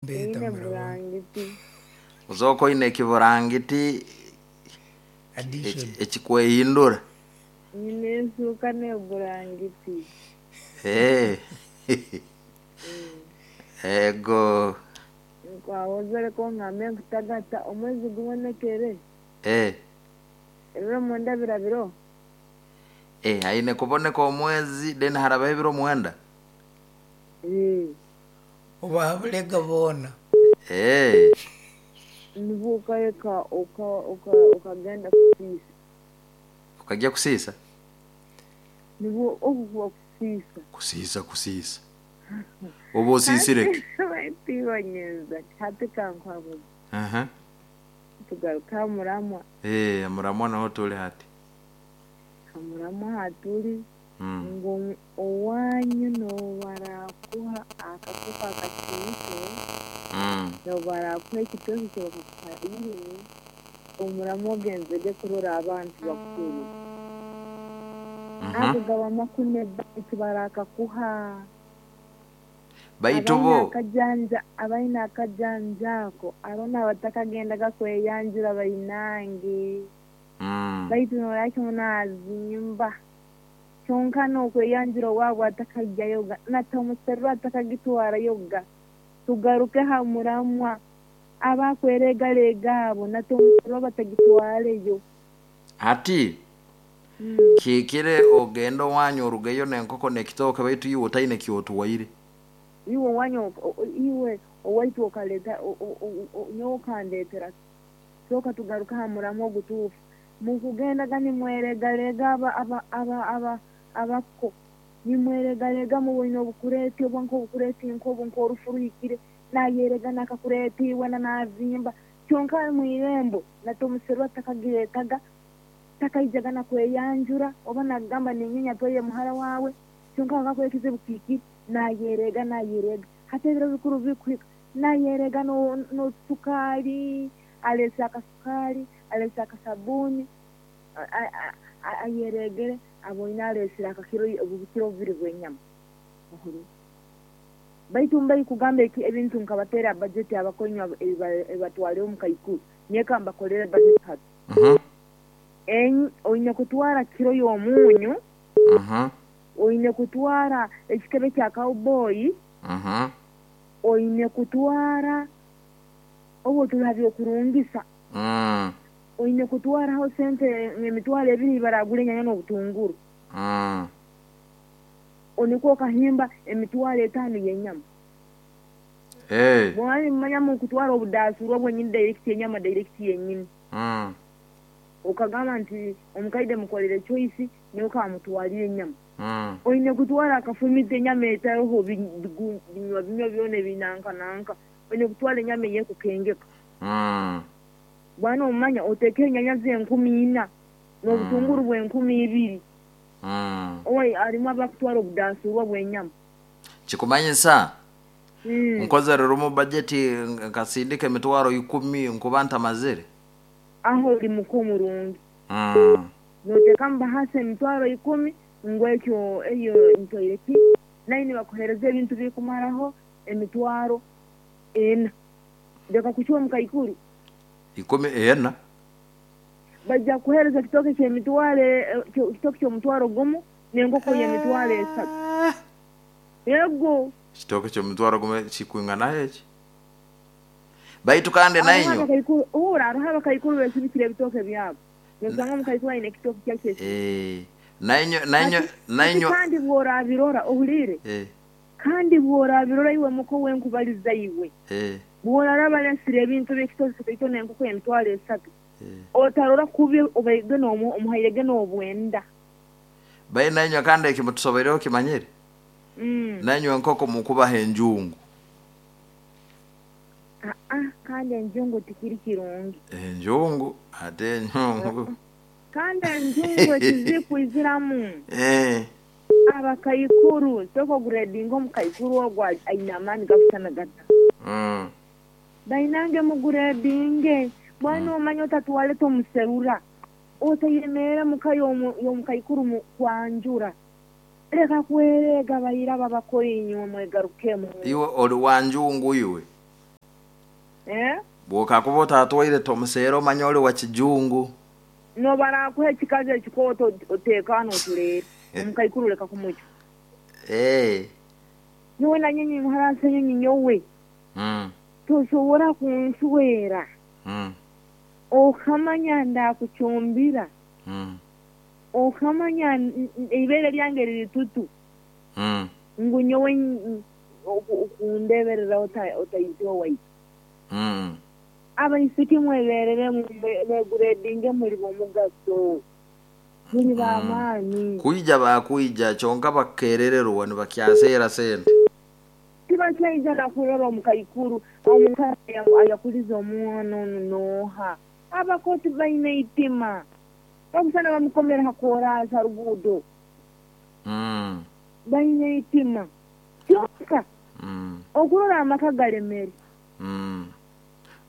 Mbeeta Nyine murabona. burangiti. Ozooka oine ekiburangiti Addition. ekikwehindura. Nyine ensuuka n'eburangiti. Eh. Ego. Nkwawozere ko ngambe nkutagata omwezi gubonekere. Eh. Ebiro mwenda birabiro. Eh, aine kuboneka omwezi then harabaho ebiro mwenda. Eh. Obabulega boona. Eh. Nibwo okareka okagenda kusiisa. Okajya kusiisa? Nibwo okukuba kusiisa. Kusiisa kusiisa. Oba osiisire ki? Tibanyeza hati kankwabuza. Aha. Tugaruka aha muramwa. Eh, muramwa naho tuli hati. Ha muramwa haturi Mm. ngu owanyu nobarakuha akakoko akakiito nobarakuha ekitoki kye bakakuha irimi omuramwa ogenzege kurora abantu bakuru. Ago gaba makune baitu barakakuha. Baitu Abaine bo akajanja abaine akajanja ako arona abatakagendaga kweyanjura bainange. Baitu noraki munazimba. Kyonka n'okweyanjura owaabwe atakajyayoga natamuserura atakagitwarayoga. Tugaruke ha muramwa abakweregalega abo natamuserura batagitwareyo. Hati kihikire ogende owanyu orugeyo n'enkoko n'ekitooke baitu iwe otaine kyotuwaire. Iwe owanyu iwe owaitu okaleta nyowe okandetera sooka tugaruke aha muramwa ogutuufu. Mukugendaga nimweregalega aba aba aba aba abako nimweregalega muboine obukureeti oba nk'obukureeti nk'obu nk'orufu ruhikire nayerega nakakureeti wena nazimba kyonka mwirembo natomuserwa takagiretaga takaijaga nakweyanjura oba nagamba ninyenya twaire muhara wawe kyonka akakuha ekizibu kihikire nayerega nayerega hati ebiro bikuru bikuhika nayerega n'osukaali alese akasukaali alese akasabuni ayeregere aboine alesere akakiro obukiro bubiri bw'enyama. Baitu mbai kugamba ebintu nkabateera bajeti abakonywa ebibatware omu kaikuru nyeka mbakolere bajeti hati. Oine kutwara kiro y'omunyu, oine kutwara ekikebe kya cowboy, oine kutwara obu turi ha by'okurungisa, oine kutwaraho sente emitwaro ebiri baragura enyanya n'obutunguru. Nikwo okahimba emitwaro etaano y'enyama. Eh. Bwomara nimumanya mukutwara obudasurwa bwenyini direct enyama direct yenyini. Okagamba nti omukaide mukolere choice nyowe kamutwalire enyama. Oine kutwara akafumita enyama etaroho binywa binywa byona ebinanka nanka. Oine kutwara enyama eyekukengeka. Bwana omumanya otekeho enyanya z'enkumi ina n'obutunguru bw'enkumi ibiri. Owai harimu abakutwara obudasurwa bw'enyama. Kikumanyisa nkozere rumu bajeti nkasindika emitwaro ikumi nkuba ntamazire. Aho ori muka omurungi. Noteekamu bahasa emitwaro ikumi ngu ekyo eyo ntwaire ki nayo nibakuheereza ebintu birikumaraho emitwaro ena. Leka kucwa omukaikuru. Ikumi ena. Baija kukuheereza ekitooke ky'emitwaro ekitooke ky'omutwaro gumu n'enkoko y'emitwaro esatu. Ego. Ekitooke ky'omutwaro gumu kikwinganaho eki? Baitu kandi Hariho nainyo. abakaikuru, hurra, hariho abakaikuru besibikire ebitooke byabo. Nosanga omukaikuru aine ekitooke kye akyesibikire. Eh, nainyo nainyo Hati, hati nainyo. kandi bw'orabirora, ohuliire? Eh. Kandi bw'orabirora iwe muko wenkubaliza iwe. Eh. Bw'oraraba alesire ebintu bye ekitooke kitaito n'enkoko y'emitwaro esatu, Eh. otarora kubi obaige omuhairege n'obwenda. Bai nainywe kandi eki mutusobeireho kimanyire? Nainywe enkoko mukubaha enjungu. Aa, kandi enjungu tikiri kirungi. Enjungu ate enjungu. Kandi enjungu ekizikwiziramu. Eh. Abakaikuru, sooka oguredinge omukaikuru ogwo aine amaani gakusana gata. Bainange muguredinge, bwana omanya otatwara tomuserura. Otayemerera muka y'omukaikuru kwanjura. Leka kwereega bairaba bakora inywe mwegarukemu. Iwe oli wa njungu iwe. Eh? Bwokakuba otatwaire tomuseera omanya oli wa kijungu. Nobarakuha ekikazi ekikooto oteekaana otuleere omukaikuru leka kumucwa. Eh. Nyowe na nyinyi muhara Ssenyonyi nyowe tosobora kunswera okamanya ndakucumbira okamanya eibere lyange liri tutu ngu nyowe okundeberera otaija owaitu. Abaisiki mwebereremu mweguredinge muli b'omugaso muli b'amaani. Kwija bakwija kyonka bakerererwa nibakyaseera sente. Tibakyaija nakurora omukaikuru omukazi ayakulize omwana onu nooha. Abakoti baine eitima bakusana bamukomere ha koraasi ha ruguudo. Baine eitima kyonka okurora amaka galemere.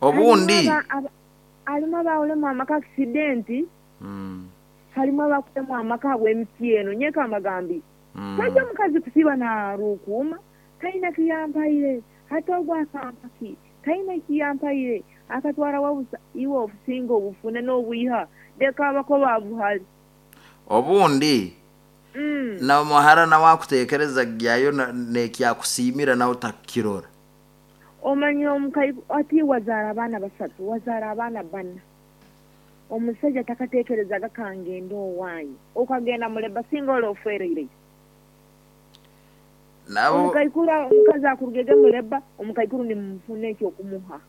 Obundi Harimu abaulemu amaka akisidenti, harimu abakulemu amaka habw'emiti eno. Nyeka mbagambire tajya omukazi kusiiba narukuuma taina kiyampaire hati ogu akampaki taina kiyampaire akatwara wabusa iwe obusinga obufune n'obwiha leka abako babuhali. Obundi na muhara nawe akuteekereza gyayo nekyakusiimira nawe otakukirora. Omanya omukaikuru ati wazaara abaana basatu wazaara abaana bana omusaija takateekerezaga kangende owanyu okagenda muleba singa oli ofwereireyo. Nabo Omukaikuru omukazi akurugege muleba omukaikuru nimufuna ekyokumuha.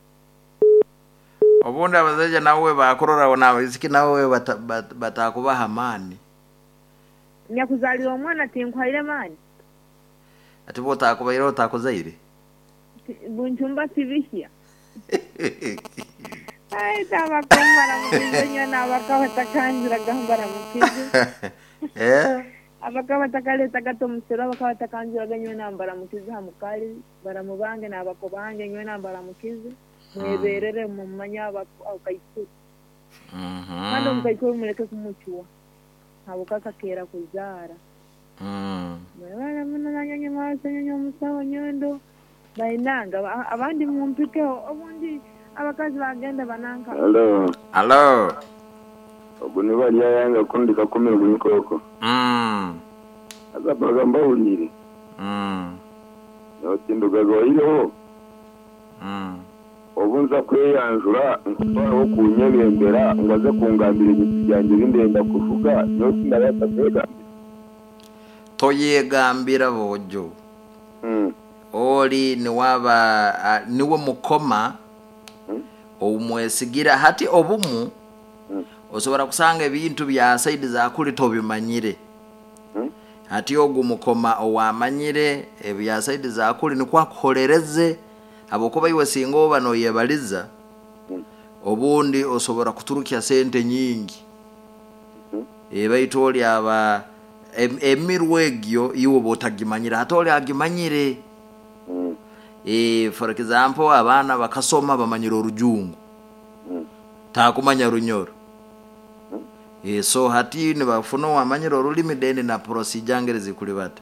Obundi abasaija nawe bakurora n'abaisiki nawe batakubaha amaani. Nyakuzaalira omwana tinkuhaire maani? Ati bwotakubaire otakuzaire? Bunchumba sibihya. Ai tabako mbaramukize nyowe n'abaka batakanjuraga mbaramukize. Eh? Abaka batakaletaga tomusero abaka batakanjuraga nyowe nambaramukize ha mukali baramu bange n'abako bange nyowe nambaramukize mweberere mumanye abakaikuru. Kandi omukaikuru muleke kumucwa habwokuba kakeera kuzaara. Mwebale muno nanyonyi mwasenyonyi omusawo nyondo bainanga abandi mumpikeho obundi abakazi bagenda bananka. Halo, Alo. ogu ni Baryayanga kundi kakumirwa inkoko. Haza mbaga mbahuriire. Notindugaga waireho obu nza kweyanjura nkutwaraho kunyebembera ngu aze kungambira ebintu byangye ebi ndenda kuvuga nyowe tindabaasa kwegambira. Toyegambira bojo. Oli niwaba niwe mukoma omwesigira hati obumu osobora kusanga ebintu bya saidi zakuli tobimanyire. Hati ogu mukoma owamanyire ebya saidi zakuli nikwo akuholereze habwokuba iwe singa oba noyebaliza obundi osobora kuturukya sente nyingi. Baitu oli aba emirwa egyo iwe oba otagimanyire hati oli agimanyire. For example abaana bakasoma bamanyire orujungu takumanya runyoro. So hati nibafuna owamanyire orulimi then na procedure ngeri zikuli bata.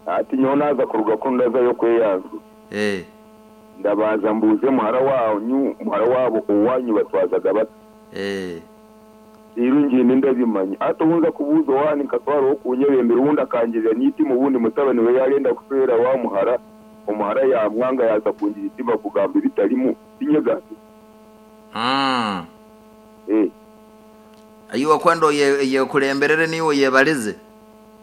Ati nyowe naaza kuruga kunu ndazayo kweyanjura. Ndabanza mbuuze muhara wanyu muhara waabo owanyu batwazaga bata. Rero ngende ndabimanya ati obu nza kubuuza owaani nkatwaraho kunyebembera obundi akangirira n'itima obundi mutabani we yarenda kuswera wa muhara omuhara yamwanga yaza kungira itima kugamba ebitarimu tinyegambire. Iwe kwenda oyekulemberere niiwe oyebalize?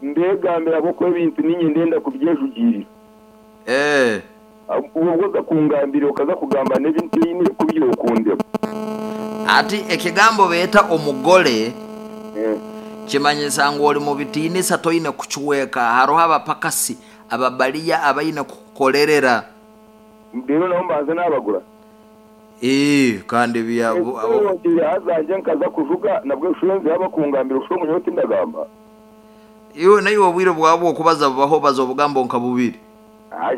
Ndegambira ahabw'okuba ebintu niinye ndenda kubyejugirira. Obwo oza kungambira okaza kugamba n'ebi ntaine kubyokundema. Ati ekigambo beeta omugole kimanyisa ngu oli mu bitiinisa toine kucweka haroho abapakasi ababaliya abaine kukukolerera. Rero nabo mbanze nabagura. Kandi bya haza nje nkaza kuvuga nabwo nshurenze yaba kungambira usho munyowe tindagamba. Iwe naiwe obwire bwawe bw'okubaza bubaho baza obugambo nka bubiri.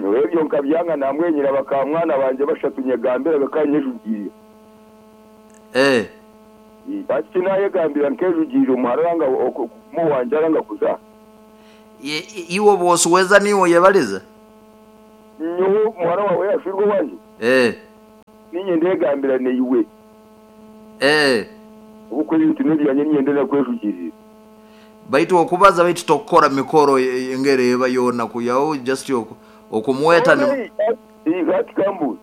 Nyowe ebyo nkabyanga namwenyera bakamwana banje bashatu nyegambira bakanyejugirira. Ati nayegambira nkejugirira omuhara aranga mu wanje aranga kuza. Iwe bwosuweza niwe oyebaliza? Nyowe muhara wawe yashwirwe wanje. Ninye ndegambira neiwe. Obukwe ebintu n'ebyanye ninyenda nakwejugirira. Baitu okubaza baitu tokukora mikoro engeri eba yoona kuyaho just okumweta ni Hati kambuuze.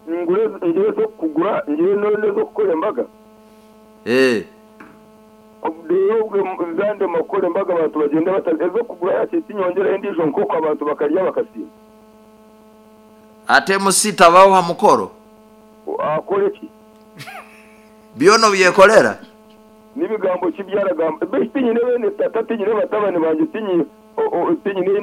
Ngure ngire ez'okukugura ngire n'ez'okukora embaga? Reero obwe zandema kukora embaga abantu bagyende bata ez'okugura hakiri tinyongyeraho endiijo nkoko abantu bakarya bakasiima. Ate MC tabaho ha mukoro? Akore ki? Byona obyekolera? Ni bigambo ki ebi aragamba? Beitu tinyine beene tata, tinyine batabani bangye, tinyine.